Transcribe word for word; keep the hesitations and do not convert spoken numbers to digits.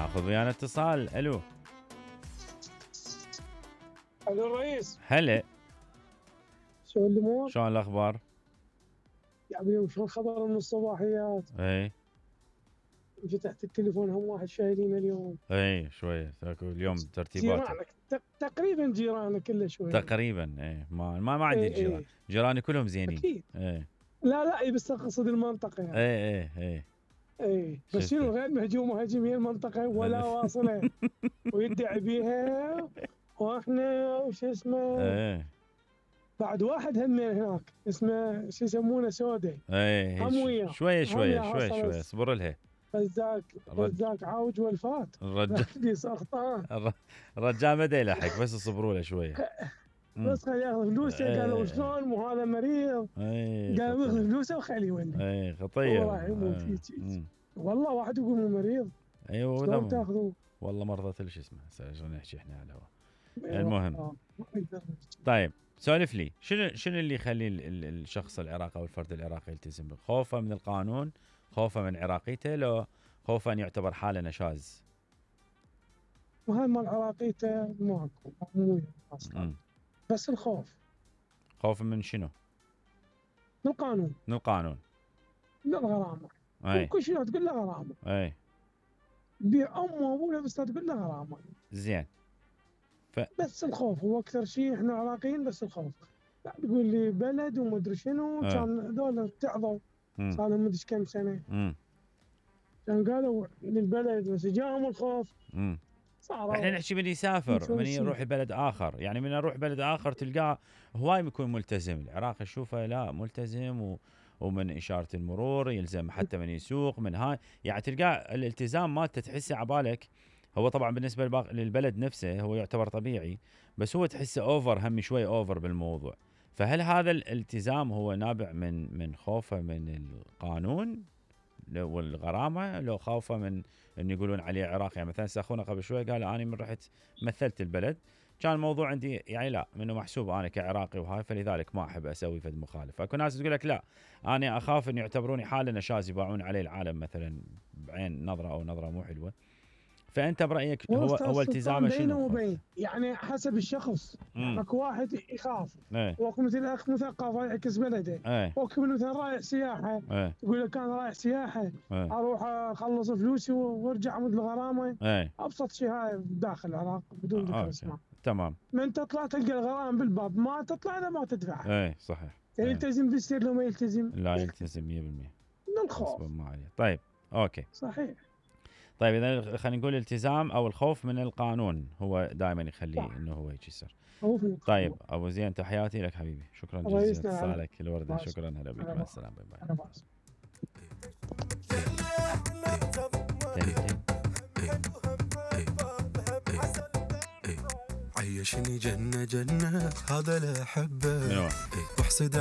ناخذ ويانا اتصال. الو الو الرئيس. هلا، شو الامور؟ شلون الاخبار؟ يا حبيبي شو الخبر من الصباحيات؟ اي فتحت التليفون هم واحد شايلين اليوم. اي شويه اليوم ترتيبات جيرانك تقريبا جيرانك كله شويه تقريبا. اي ما ما, ما عندي ايه جيران. ايه. جيراني كلهم زينين. اكيد. اي لا لا اي بس اقصد المنطقه يعني. اي اي اي اي بس شنو غير مهجوم وهاجم هي المنطقه ولا واصله ويدعي بيها واحنا وش اسمه. اي بعد واحد هم هناك اسمه شو يسمونه سوداء. اي هم وياه شويه شويه هم شويه حصل شويه اصبر لها. رزاق الرج- رزاق عاوج والفات. الرجال دي سرطان. الر- الرجال ما دا يلحق بس اصبروا له شويه. مم. بس خليه ياخذ فلوسه. إيه. قالوا شلون مو هذا مريض. اي قالوا ياخذ خطير. فلوسه وخليه يولي. اي خطير. هو راح يموت إيه. هيك هيك. مم. والله واحد يقول مو مريض. ايوه شلون ولا- تاخذوه؟ والله مرضى شو اسمه هسه شلون نحكي احنا على الهواء. إيه المهم. والله، ما يقدر. طيب سولف لي شنو شنو اللي يخلي ال- ال- الشخص العراقي او الفرد العراقي يلتزم؟ خوفه من القانون، خوفه من عراقيته، لو خوفه ان يعتبر حاله نشاز؟ وهاي مال عراقيته ماكو مو اصلا. مم. بس الخوف خوف من شنو؟ من القانون، من القانون. من الغرامه. اي كل شيء تقول له غرامه. اي بيع امه وابوه بس تقول له غرامه. زين. بس الخوف هو اكثر شيء. احنا عراقيين بس الخوف. لا تقول لي بلد وما ادري شنو. آه. كان هذول اتعظوا مم. صار لهم مدري كم سنه. مم. كان قالوا للبلد بس جاهم الخوف مم. صاروا. احنا نحكي من يسافر، من متونسين. يروح بلد اخر، يعني من اروح بلد اخر تلقاه هواي يكون ملتزم. العراق اشوفه لا ملتزم و ومن اشاره المرور يلزم حتى من يسوق من هاي، يعني تلقاه الالتزام مالته تحسه عبالك. هو طبعا بالنسبه للباق- للبلد نفسه هو يعتبر طبيعي، بس هو تحسه اوفر، هم شوي اوفر بالموضوع. فهل هذا الالتزام هو نابع من من خوفه من القانون لو- والغرامه، لو خوفه من ان يقولون عليه عراقي؟ يعني مثلا اخونا قبل شوي قال انا من رحت مثلت البلد كان الموضوع عندي يعني لا منه محسوب انا كعراقي وهاي، فلذلك ما احب اسوي فد مخالفه. اكو ناس تقول لك لا انا اخاف ان يعتبروني حاله نشاز يباعون عليه العالم مثلا بعين نظره او نظره مو حلوه. فانت برايك هو أستاذ هو سلطان التزامه بينه شنو؟ وبين يعني حسب الشخص. مم. اكو واحد يخاف. ايه واكو مثل اخ مثقف يعكس بلده. ايه واكو مثلا رايح سياحه. ايه يقول لك انا رايح سياحه ايه اروح اخلص فلوسي وارجع امد الغرامه. ايه ابسط شيء هاي داخل العراق بدون ذكر آه، اسماء. تمام. من تطلع تلقى الغرام بالباب، ما تطلع اذا ما تدفع. ايه صحيح. ايه. يلتزم بالسير لو ما يلتزم لا يلتزم مية بالمية. من الخوف. غصباً ما عليه. طيب اوكي. صحيح. طيب اذا خلينا نقول الالتزام او الخوف من القانون هو دائما يخليه صح. انه هو يجي يصير. خوف من طيب ابو زين تحياتي لك حبيبي، شكرا الله جزيلا يسلمك. اتصالك الورده. ماشي. شكرا هلا بك أنا مع ما- السلامه. باي باي. انا بعرف. تاني تاني. عيشني جنة جنة هذا لا أحبه منو؟ واحسد